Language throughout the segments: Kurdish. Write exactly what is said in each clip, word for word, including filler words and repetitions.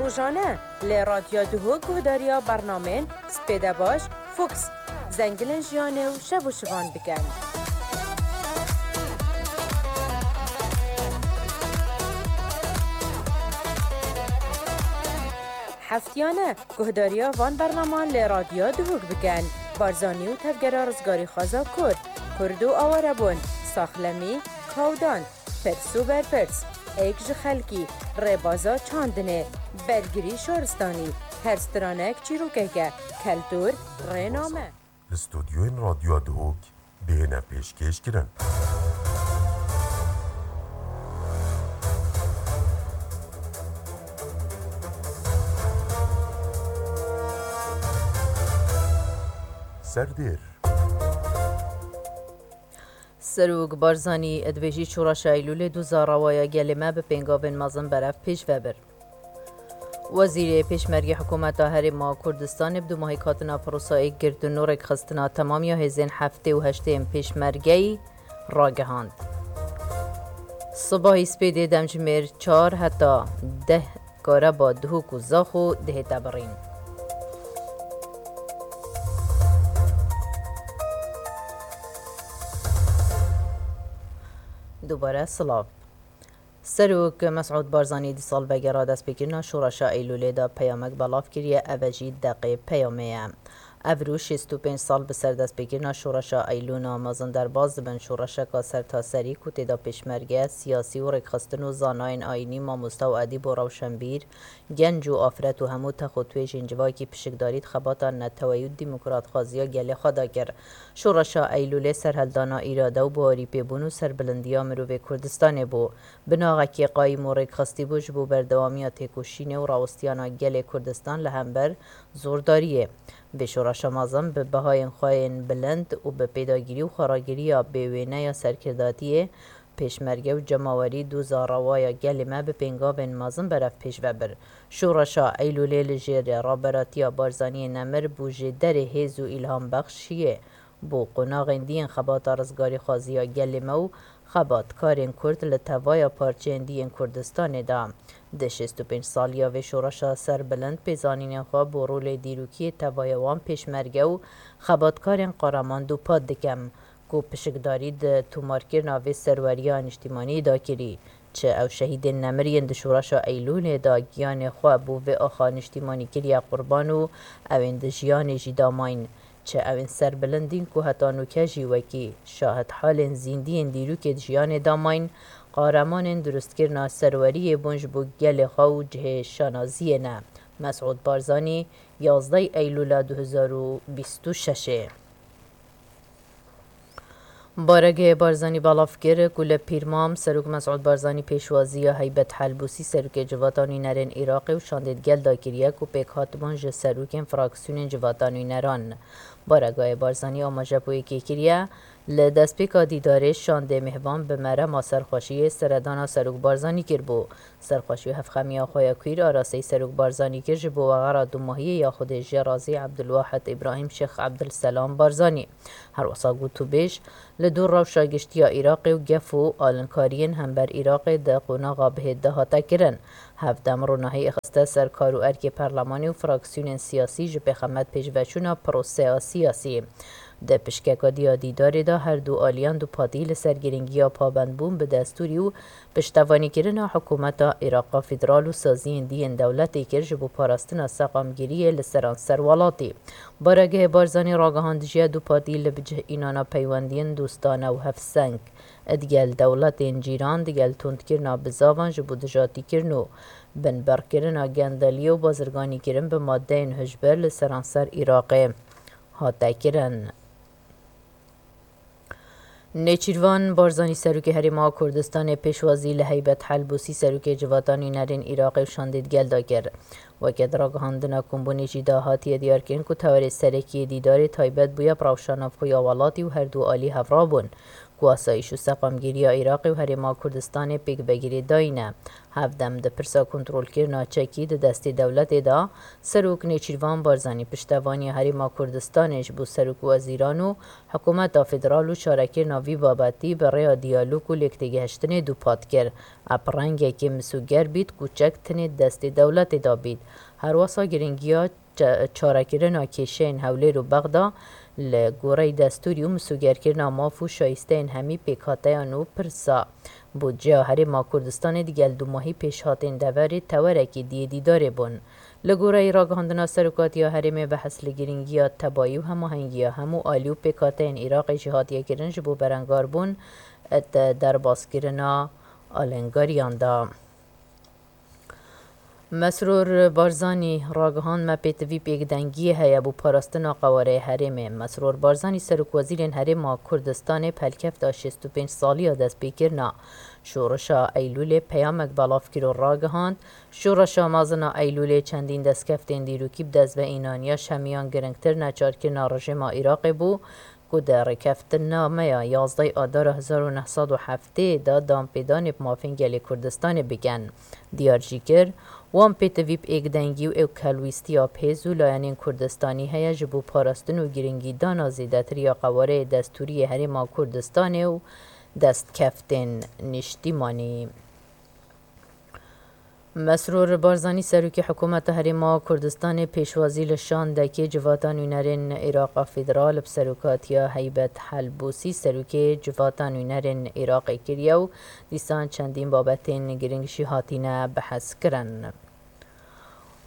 Rojane li Radyo Duhok guhdariya bernamên Spêde Baş, Fox, Zengilên Jiyanê û Şev û Şivan bikin. Heftiyane guhdariya van bernaman li Radyo Duhok bikin. Barzanî û tevgera rizgarîxwaza Kurd, Kurd û awarebûn, saxlemî, kawdan, pirs û berpirs, êk ji xelkî, rêbaza çandinê, bergirî şaristanî, her stranek çîrokeke, keltûr, rêname. Li stûdyoyên Radyoya Duhok bihêne pêşkêşkirin. Serdêr. Serok Barzanî dibêjî, Şoreşa Eylûlê doza rewaya gelê me bi pêngavên mezin berev pêş ve bir. Wezîrê Pêşmergê Hikûmeta Herêma Kurdistanê bi dûmahî hatina prosa êkgirtin û rêkxistina temamiya hêzên heftê û heştê yên Pêşmergeyî ragihand. Sibahî Spêdê demjimêr çar heta deh kareba Duhok û Zaxo dihête birîn. Dubare silav. Serok Mesûd Barzanî di salvegera destpêkirina Şoreşa Eylûlê de peyamek belav kiriye, ev jî deqê peyamê ye. Ev rû şêst û pênc sal bi ser destpêkirina Şoreşa Eylûna mezin derbas dibin, şoreşeka sertaserî ku tê de pêşmerge, siyasî û rêkxistin û zanayên ayînî, mamosta û edîb û rewşenbîr, genc û afret û hemû tex û twêjên civakî pişikdarî di xebata neteweyî û demokratxwaziya gelê xwe de kir. Şoreşa Eylûlê serhildana îrade û bawerî pêbûn û serbilindiya mirovê Kurdistanê bû. Binaxekê qayîm û rêkxistî bû ji bo berdewamiya têkoşînê û rawestiyana gelê Kurdistan li hember zordariyê. Vê şoreşa mezin bi bihayên xwe yên bilind û bi pêdagirî û xweragiriya bêwêne ya serkirdatiyê, pêşmerge û cemawerî doza rewaya gelê me bi pêngavên mezin berev pêş ve bir. Şoreşa Eylûlê li jêr raberatiya Barzaniyê nemir bû jêderê hêz û îlhambexşiyê bo qonaxên diyên xebata rizgarîxwaziya gelê me û xebatkarên Kurd li tevaya parçeyên diyên Kurdistanê de. Di şêst û pênc saliya vê şoreşa serbilind pêzanînên xwe bo rolê dîrokî yê tevaya wan pêşmerge û xebatkarên qaraman dûpat dikim, ku pişikdarî di tomarkirina vê serweriya niştîmanî de kirî. Çi ew şehîdên nemir yên di şoreşa Eylûlê de giyanê xwe bo vê axa niştîmanî kiriye qurban û ew ên di jiyanê jî de mayîn. Çi ew ên serbilindîn ku heta nûke jî wekî şahidhalên zîndiyên dîrokê di jiyanê de mayîn, qaremanên durustkirina serweriyê bûn ji bo gelê xwe û cihê şanaziyê ne. Mesûd Barzanî, yazdeh Eylûla du hezar û bîst û şeş ê. Baregehê Barzanî belav kir ku li Pîrmam Serok Mesûd Barzanî pêşwaziya Heybet Helbûsî, Serokê Civata Nûnerên Iraqê û şandê di gel de kiriye ku pêkhatibûn ji serokên fraksiyonên Civata Nûneran. Baregehê Barzanî amaje bo yekê kiriye, li destpêka dîdarê şandê mêhvan bi merema serxweşiyê seredana Serok Barzanî kiribû. Serxweşî û hevxemiya xwe ya kwîr arasteyî Serok Barzanî kir ji bo wexera dûmahiyê ya Xwedê jê razî Ebdulwahid Îbrahîm Şêx Ebdulselam Barzanî. Herwesa gotûbêj li dû rewşa giştî ya Iraqê û gef û alinkariyên hember Iraqê di qonaxa bihêt de hate kirin. Hevdem ronahî xiste ser kar û erkê perlemanê û fraksiyonên siyasî ji pêxemet pêşveçûna proseya siyasî. Di pişkeka dî ya dîdarê de her du aliyan dupatî li ser girîngiya pabendbûn bi destûrî û piştevanîkirina hikûmeta Îraqa Federal û saziyên dî yên dewletê kir ji bo parastina seqamgiriyê li seranser welatî. Baregehê Barzanî ragihandijiye dupatî li bi cih înana peywendiyên dostane û hevseng digel dewletên cîran, digel tundkirina bizavan ji bo dijatîkirin û binberkirina gendeliyê û bazirganîkirin bi madeyên hişbir li seranser Îraqê hate kirin. Nêçîrvan Barzanî Serokê Herêma Kurdistanê pêşwazî li Heybet Helbûsî Serokê Civata Nûnerên Iraqê û şandê digel de kir. Weke di ragihandina kombûnê jî de hatiye diyarkirin ku tewerê serekî yê dîdarê taybet bûye bi rewşa navxwe ya welatî û her du alî hevra bûn. ku asayîş û seqamgîriya Iraqê û Herêma Kurdistanê pêk vegirêdayî ne. Hevdem di pirsa kontrolkirina çekî di destê dewletê de, Serok Nêçîrvan Barzanî piştevaniya Herêma Kurdistanê ji bo serokwezîran û hikûmeta federal û çarekirina vî babetî bi rêya diyalog û lêktêgihiştinê dûpat kir. Ep rengekê misûger bît ku çek tinê destê dewletê de bît. Herwesa giringiya ça-, çarekirina kêşeyên Hewlêr û Bexda li goreyî destûrî û misûgerkirina maf û şayîsteyên hemî pêkhateyan û pirsa budceya Herêma Kurdistanê digel dûmahî pêşhatên deverê tewerekî diyê dîdarê bûn. Li goreyî ragihandina serokatiya herêmê behs li girîngiya tebayî û hemahengiya hemû alî û pêkhateyên Iraqê jî hatiye kirin ji bo berengarbûn di derbazkirina alengariyan de. Mesrûr Barzanî ragihand, me pêtivî pêkdengiyê heye bo parastina qewareyê herêmê. Mesrûr Barzanî serokwezîrên Herêma Kurdistanê bi helkefta şêst û pênc saliya destpêkirina Şoreşa Eylûlê peyamek belav kir û ragihand, Şoreşa mezin a Eylûlê çendîn destkeftên dîrokî bi dest ve înaniya ji hemiyan giringtir neçarkirina rejîma Iraqê bû, ku di rêkeftinnameya yazdeh Adara hezar û neh sed û heftê de danpêdanê bi mafên gelê Kurdistanê bikin. Diyar jî kir, wan pêtivî bi êkdengî û êkhelwîstiya bi hêz û layenên Kurdistanî heye ji bo parastin û girîngîdana zêdetir ya qewareyê destûrî yê Herêma Kurdistanê û destkeftên niştîmanî. Mesrûr Barzanî, serokê hikûmeta Herêma Kurdistanê, pêşwazî li şandekê Civata Nûnerên Îraqa Federal bi serokatiya Heybet Helbûsî, serokê Civata Nûnerên Îraqê kiriye û dîsan çendîn babetên girîng jî hatine behs kirin.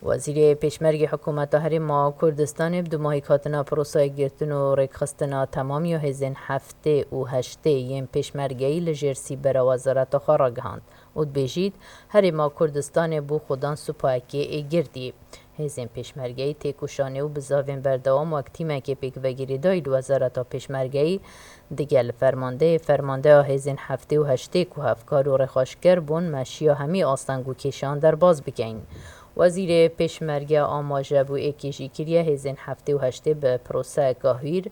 Wezîrê Pêşmergê Hikûmeta Herêma Kurdistanê bi dûmahî hatina prosayê girtin û rêkxistina temam ya hêzên heftê û heştê yên pêşmergeyî li jêr sîbera wezareta xwe ragihand û dibêjît, Herêma Kurdistanê bû xudan supayekê ê girdî. Hêzên pêşmergeyî têkoşanê û bizavên berdewam wek tîmekê pêkvegirêdayî li Wezareta Pêşmergeyî digel fermandeyê, fermandeya hêzên heftê û heştê ku hevkar û rêxweşker bûn, meşiya hemî asteng û kêşan derbas bikeyin. Wezîrê Pêşmerge amaje bû êkê jî kiriye, hêzên heftê û heştê bi proseyeka hûr,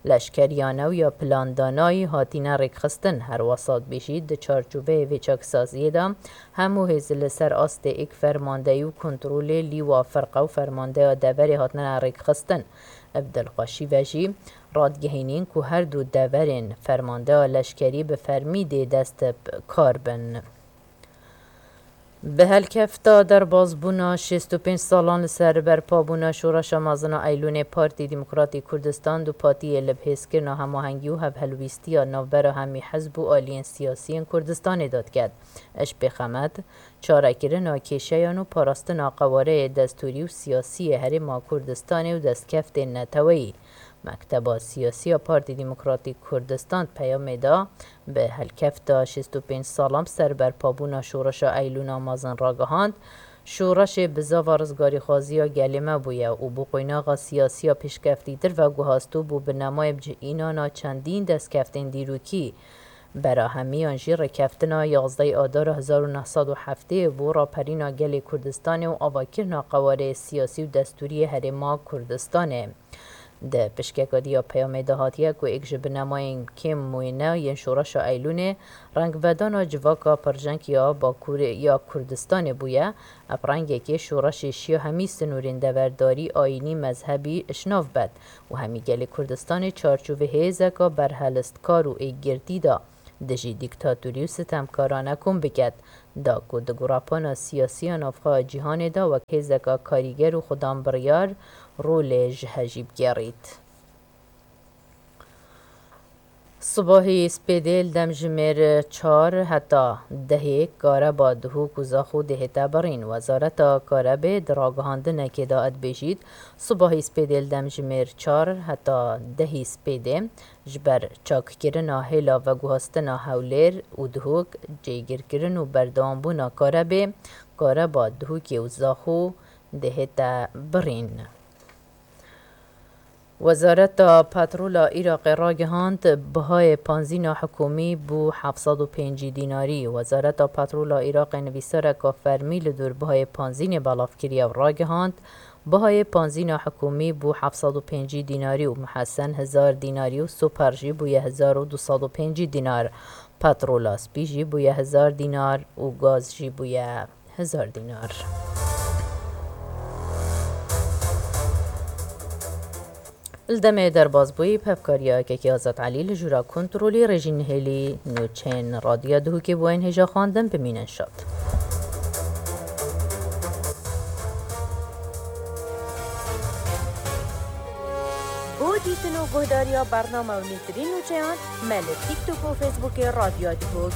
leşkeriyane û ya plandanayî hatine rêkxistin. Herwesa dibêjî, di çarçoveyê vê çaksaziyê de hemû hêz li ser astê êk fermandeyî û kontrolê lîwa firqe û fermandeya deverê hatine rêkxistin. Bi dilxweşî ve jî radigihînîn ku her du deverên fermandeya leşkerî bi fermî dê dest bi kar bin. Bi helkefta derbazbûna şêst û pênc salan li ser berpabûna Şoreşa Mezin a Eylûnê, Partî Demokratîk Kurdistan dûpatiyê li bihêzkirina hemahengî û hevhelwîstiya navbera hemî hizb û aliyên siyasî yên Kurdistanê de diket. Ji pêxemet, çarekirina kêşeyan û parastina qewareyê destûrî û siyasî yê Herêma Kurdistanê û destkeftên neteweyî. Mekteba Siyasî ya Partî Demokratîk Kurdistan peyamê da bi helkefta şêst û pênc salan bi ser berpabûna Şoreşa Eylûna Mezin ragihand, Şoreşê bizava rizgarîxwaziya gelê me bûye û bû qoynaxa siyasî ya pêşkeftîtir veguhast û bû binemayê bicihînana çendîn destkeftên dîrokî. Bera hemiyan jî rêkeftina yazdeh Adara hezar û neh sed û heftê bû raperîna gelê Kurdistanê û avakirina qewareyê siyasî û destûrî yê Herêma Kurdistanê. Di pişkeka dî ya peyamê de hatiye ku êk ji binemayên kêm wêne yên Şoreşa Eylûnê rengvedana civaka pirjeng ya Bakurê ya Kurdistanê bûye, ev rengekê şoreşê şiya hemî sinûrên deverdarî, ayînî, mezhebî ji nav bet û hemî gelê Kurdistanê çarçovê hêzeka berhelistkar û êkgirtî da dijî dîktatorî û sitemkarane kom biket, da ku di gorapana siyasî ya navxwe ya cîhanê de wek hêzeka karîger û xudan biryar rolê ji hejî bigerît. Sibahî spêdê li dem jimêr çar heta dehê Kareba, Duhok û Zaxo dê hête birîn. Wezareta Karebê di ragihandinekê de dibêjît, sibahî spêdê li dem jimêr çar heta dehî spêdê ji ber çakkirina hêla veguhastina Hewlêr û Duhok, cêgirkirin û berdewambûna Karebê, Kareba, Duhokê û Zaxo dê hête birîn. Wezareta Petrola Iraqê ragihand, bihayê panzîna hikûmî bû heft sed û pêncî dînarî. Wezareta Petrola Iraqê nivîsareka fermî li dor bihayê panzînê belav kiriye û ragihand, Bihayê panzîna hikûmî bû heft sed û pêncî dînarî û muhesen hezar dînarî û super jî bûye hezar û du sed û pêncî dînar. Petrola spî jî bûye hezar dînar û gaz jî bûye hezar dînar. Li demê derbasbûyî bi hevkariya Kekî Azad Elî li jûra kontrolî rêjî nihêlî. Nûçeyên Radyoya Duhokê bo yên hêja xwendin bimînin şad. Bo dîtin û guhdariya bername û nêtirîn nûçeyan me li TikTok û Facebookê Radyoya Duhok